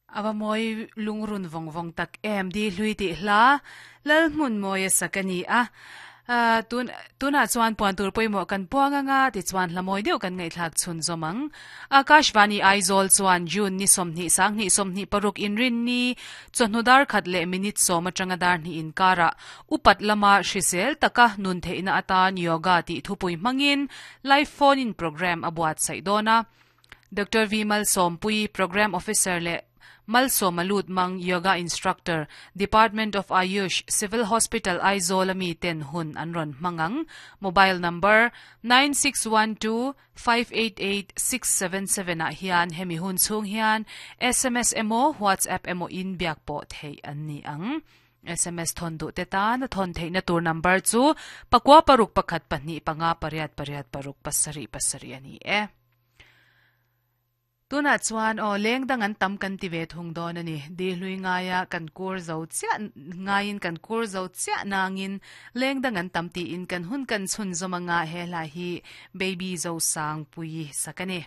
Ava mawi lungrun vawng vawng tak em di hlui tih hla Lalhmunmawia sak a ni a. Tun tunah chuan puan tur pawimawh kan puang anga tichuan hla mawi deuh kan ngaihthlak chhun zawm ang. Akashvani Aizawl chuan June ni 20 sanghnih 26 inrinni chawhnu dar khat leh minute sawm atanga dar hnih inkarah upat lama hrisel taka nun theihna atan yoga tih thupui hmangin live phone in programme a buatsaih dawn a. Doctor V Malsawmpui, Programme Officer leh Malsawma Lutmang, Yoga Instructor, Department of Ayush, Civil Hospital Aizawl a mi ten hun an rawn hmang ang. Mobile number, 9612588677 ah hian hemi hun chhung hian sms emaw WhatsApp emaw in biak pawh theih an ni ang. Sms thawn duh te tan a thawn theihna tur number chu pakua paruk pakhat pahnih panga pariat pariat paruk pasarih pasarih a ni e. Tunah chuan aw leng dang an tam kan ti ve thung dawn a ni. Di hlui ngaia kan kur zo chiah ngaiin kan kur zo chiah nangin leng dang an tam tiin kan hun kan chhun zawm anga he hla hi Baby Zosangpuii sak a ni.